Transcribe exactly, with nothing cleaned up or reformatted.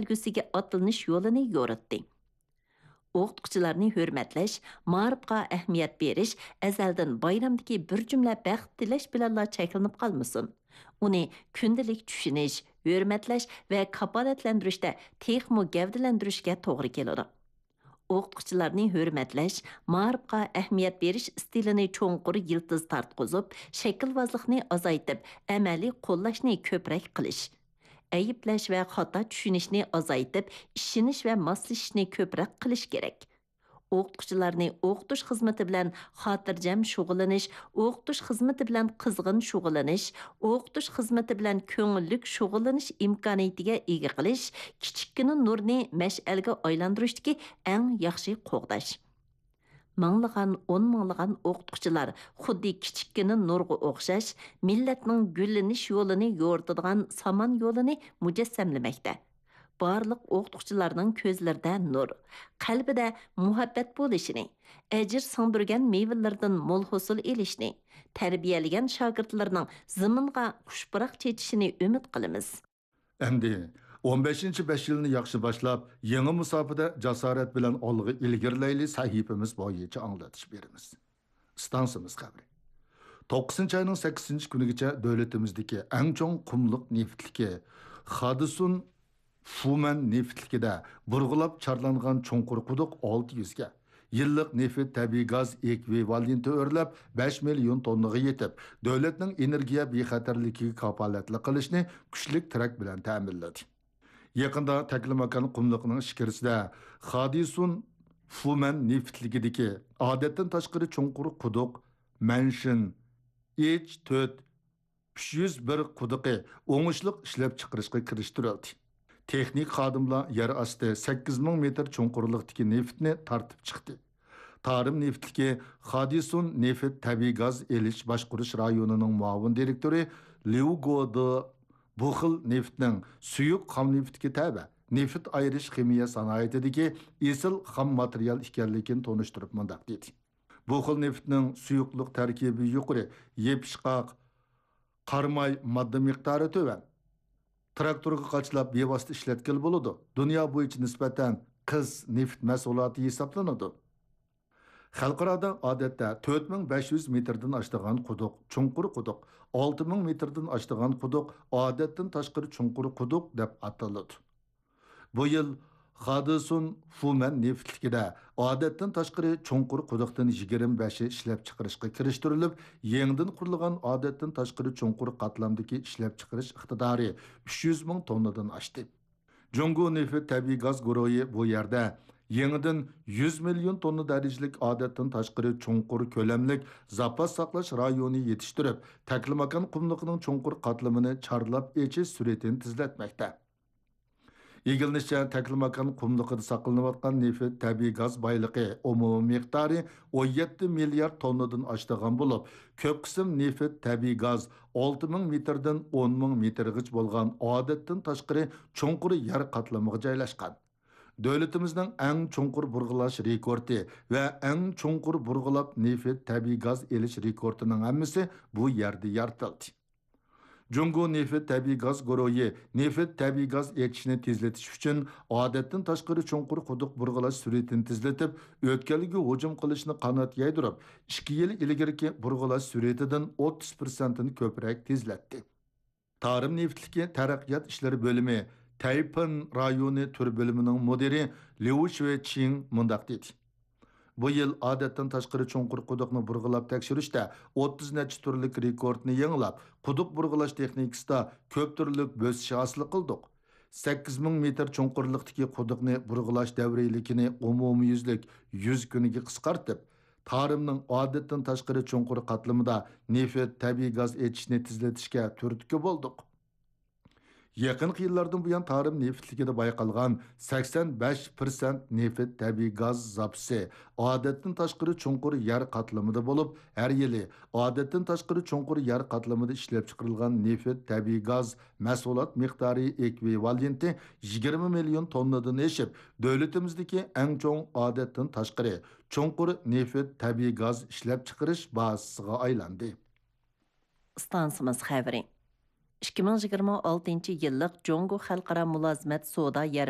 سۇپىسىگە ئاتلىنىش يولىنى يورۇتتى. ئوقۇتقۇچىلارنى ھۆرمەتلەش، مائارىپقا ئەھمىيەت بېرىش ئەزەلدىن بايرامدىكى بىر جۈملە بەخت تىلەش بىلەنلا چەكلىنىپ قالمىسۇن. ئۇنى كۈندىلىك چۈشىنىش، ھۆرمەتلەش ۋە كاپالەتلەندۈرۈشتە تېخىمۇ گەۋدىلەندۈرۈشكە توغرا كېلىدۇ. ئوقۇتقۇچىلارنى ھۆرمەتلەش، مائارىپقا ئەھمىيەت بېرىش ئىستىلىنى چوڭقۇر يىلتىز تارتقۇزۇپ، شەكىلۋازلىقنى ئازايتىپ، ئەمەلىي قوللاشنى كۆپرەك قىلىش. ئەيىبلەش ۋە خاتا چۈشىنىشنى ئازايتىپ، ئىشىنىش ۋە ماسلىشىشنى كۆپرەك قىلىش كېرەك. ئوقۇتقۇچىلارنى ئوقۇتۇش خىزمىتى بىلەن خاتىرجەم شۇغۇللىنىش، ئوقۇتۇش خىزمىتى بىلەن قىزغىن شۇغۇللىنىش، ئوقۇتۇش خىزمىتى بىلەن كۆڭۈللۈك شۇغۇللىنىش ئىمكانىيىتىگە ئىگە قىلىش، كىچىككىنە نۇرنى مەشئەلگە ئايلاندۇرۇشتىكى ئەڭ ياخشى قوغداش. مىڭلىغان، ئون مىڭلىغان ئوقۇتقۇچىلار خۇددى كىچىككىنە نۇرغا ئوخشاش، مىللەتنىڭ گۈللىنىش يولىنى يورۇتىدىغان سامان يولىنى مۇجەسسەملىمەكتە. بارلىق ئوقۇتقۇچىلارنىڭ كۆزلىرىدە نۇر، قەلبىدە مۇھەببەت بولۇشىنى، ئەجىر سىڭدۈرگەن مېۋىلىرىدىن مول ھوسۇل ئېلىشنى، تەربىيەلىگەن شاگىرتلىرىنىڭ زېمىنغا خۇش پۇراق چېچىشىنى ئۈمىد قىلىمىز. ئەمدى ئون بەشىنچى بەش يىلنى ياخشى باشلاپ، يېڭى مۇساپىدە جاسارەت بىلەن ئالغا ئىلگىرىلەيلى سەھىپىمىز بويىچە ئاڭلىتىش بېرىمىز. ئىستانسىمىز خەۋىرى. توققۇزىنچى ئاينىڭ سەككىزىنچى كۈنىگىچە دۆلىتىمىزدىكى ئەڭ چوڭ قۇملۇق نېفىتلىكى خادىسۇن فۇمەن نېفىتلىكىدە بۇرغىلاپ چارلانغان چوڭقۇر قۇدۇق ئالتە يۈزگە، يىللىق نېفىت تەبىئىي گاز ئېكۋىۋالېنتى ئۆرلەپ بەش مىليون توننىغا يېتىپ، دۆلەتنىڭ ئېنېرگىيە بىخەتەرلىكىگە كاپالەتلىك قىلىشنى كۈچلۈك تىرەك بىلەن تەمىنلىدى. يېقىندا تەكلىماكان قۇملۇقىنىڭ ئىچكىرىسىدە خادىسۇن فۇمەن نېفىتلىكىدىكى ئادەتتىن تاشقىرى چوڭقۇر قۇدۇق مەنشىن ئېچ تۆت ئۈچ يۈز بىر قۇدۇقى ئوڭۇشلۇق ئىشلەپچىقىرىشقا كىرىشتۈرۈلدى. تېخنىك خادىملار يەر ئاستى سەككىز مىڭ مېتىر چوڭقۇرلۇقتىكى نېفىتنى تارتىپ چىقتى. تارىم نېفىتلىكى خادىسۇن نېفىت تەبىئىي گاز ئېلىش باشقۇرۇش رايونىنىڭ مۇئاۋىن دىرېكتورى ليۇ گودې بۇ خىل نېفىتنىڭ سۇيۇق خام نېفىتكە تەۋە، نېفىت ئايرىش خىمىيە سانائىتىدىكى ئېسىل خام ماتېرىيال ئىكەنلىكىنى تونۇشتۇرۇپ مۇنداق دېدى: بۇ خىل نېفىتنىڭ سۇيۇقلۇق تەركىبى يۇقىرى، يېپىشقاق، قاراماي ماددا مىقدارى تۆۋەن. تىراكتورغا قاچىلاپ بىۋاسىتە ئىشلەتكىلى بولىدۇ. دۇنيا بويىچە نىسبەتەن قىس نېفىت مەھسۇلاتى ھېسابلىنىدۇ. خەلقئارادا ئادەتتە تۆت مىڭ بەش يۈز مېتىردىن ئاشىدىغان قۇدۇق، چوڭقۇر قۇدۇق، ئالتە مىڭ مېتىردىن ئاشىدىغان قۇدۇق ئادەتتىن تاشقىرى چوڭقۇر قۇدۇق دەپ ئاتىلىدۇ. بۇ يىل خادىسۇن فۇمەن نېفىتلىكىدە ئادەتتىن تاشقىرى چوڭقۇر قۇدۇقتىن يىگىرمە بەشى ئىشلەپچىقىرىشقا كىرىشتۈرۈلۈپ، يېڭىدىن قۇرۇلغان ئادەتتىن تاشقىرى چوڭقۇر قاتلامدىكى ئىشلەپچىقىرىش ئىقتىدارى ئۈچ يۈز مىڭ توننىدىن ئاشتى. جۇڭگو نېفىت تەبىئىي گاز گۇرۇھى بۇ يەردە يېڭىدىن يۈز مىليون توننا دەرىجىلىك ئادەتتىن تاشقىرى چوڭقۇر كۆلەملىك زاپاس ساقلاش رايونى يېتىشتۈرۈپ، تەكلىماكان قۇملۇقىنىڭ چوڭقۇر قاتلىمىنى چارلاپ ئېچىش سۈرئىتىنى تېزلەتمەكتە. ئىگىلىنىشىچە، تەكلىماكان قۇملۇقىدا ساقلىنىۋاتقان نېفىت تەبىئىي گاز بايلىقى ئومۇمىي مىقدارى ئون يەتتە مىليارد توننىدىن ئاشىدىغان بولۇپ، كۆپ قىسىم نېفىت تەبىئىي گاز ئالتە مىڭ مېتىردىن ئون مىڭ مېتىرغىچە بولغان ئادەتتىن تاشقىرى چوڭقۇر يەر قاتلىمىغا جايلاشقان. دۆلىتىمىزنىڭ ئەڭ چوڭقۇر بۇرغىلاش رېكورتى ۋە ئەڭ چوڭقۇر بۇرغىلاپ نېفىت تەبىئىي گاز ئېلىش رېكورتىنىڭ ھەممىسى بۇ يەردە يارىتىلدى. جۇڭگو نېفىت تەبىئىي گاز گۇرۇھى نېفىت تەبىئىي گاز ئېچىشنى تېزلىتىش ئۈچۈن ئادەتتىن تاشقىرى چوڭقۇر قۇدۇق بۇرغىلاش سۈرئىتىنى تېزلىتىپ، ئۆتكەلگە ھۇجۇم قىلىشنى قانات يايدۇرۇپ، ئىككى يىل ئىلگىرىكى بۇرغىلاش سۈرئىتىدىن ئوتتۇز پىرسەنتتىن كۆپرەك تېزلەتتى. تارىم نېفىتلىكى تەرەققىيات ئىشلىرى بۆلۈمى تەيپىن رايونى تۈر بۆلۈمىنىڭ مۇدىرى ليۇ شۈەچىڭ مۇنداق دېدى: بۇ يىل ئادەتتىن تاشقىرى چوڭقۇر قۇدۇقنى بۇرغىلاپ تەكشۈرۈشتە ئوتتۇز نەچچە تۈرلۈك رېكورتنى يېڭىلاپ، قۇدۇق بۇرغىلاش تېخنىكىسىدا كۆپ تۈرلۈك بۆسۈش ھاسىل قىلدۇق. سەككىز مىڭ مېتىر چوڭقۇرلۇقتىكى قۇدۇقنى بۇرغىلاش دەۋرىيلىكىنى ئومۇميۈزلۈك يۈز كۈنگە قىسقارتىپ، تارىمنىڭ ئادەتتىن تاشقىرى چوڭقۇر قاتلىمىدا نېفىت تەبىئىي گاز ئېچىشنى تېزلىتىشكە تۈرتكە بولدۇق. يېقىنقى يىللاردىن بۇيان تارىم نېفىتلىكىدە بايقالغان سەكسەن بەش پىرسەنت نېفىت تەبىئىي گاز زاپىسى ئادەتتىن تاشقىرى چوڭقۇر يەر قاتلىمىدا بولۇپ، ھەر يىلى ئادەتتىن تاشقىرى چوڭقۇر يەر قاتلىمىدا ئىشلەپچىقىرىلغان نېفىت تەبىئىي گاز مەھسۇلات مىقدارى ئېكۋىۋالېنتى يىگىرمە مىليون توننىدىن ئېشىپ، دۆلىتىمىزدىكى ئەڭ چوڭ ئادەتتىن تاشقىرى چوڭقۇر نېفىت تەبىئىي گاز ئىشلەپچىقىرىش بازىسىغا ئايلاندى. ئىستانسىمىز خەۋىرى. ئىككى مىڭ يىگىرمە ئالتىنچى يىللىق جۇڭگو خەلقئارا مۇلازىمەت سودا يەرمەنكىسى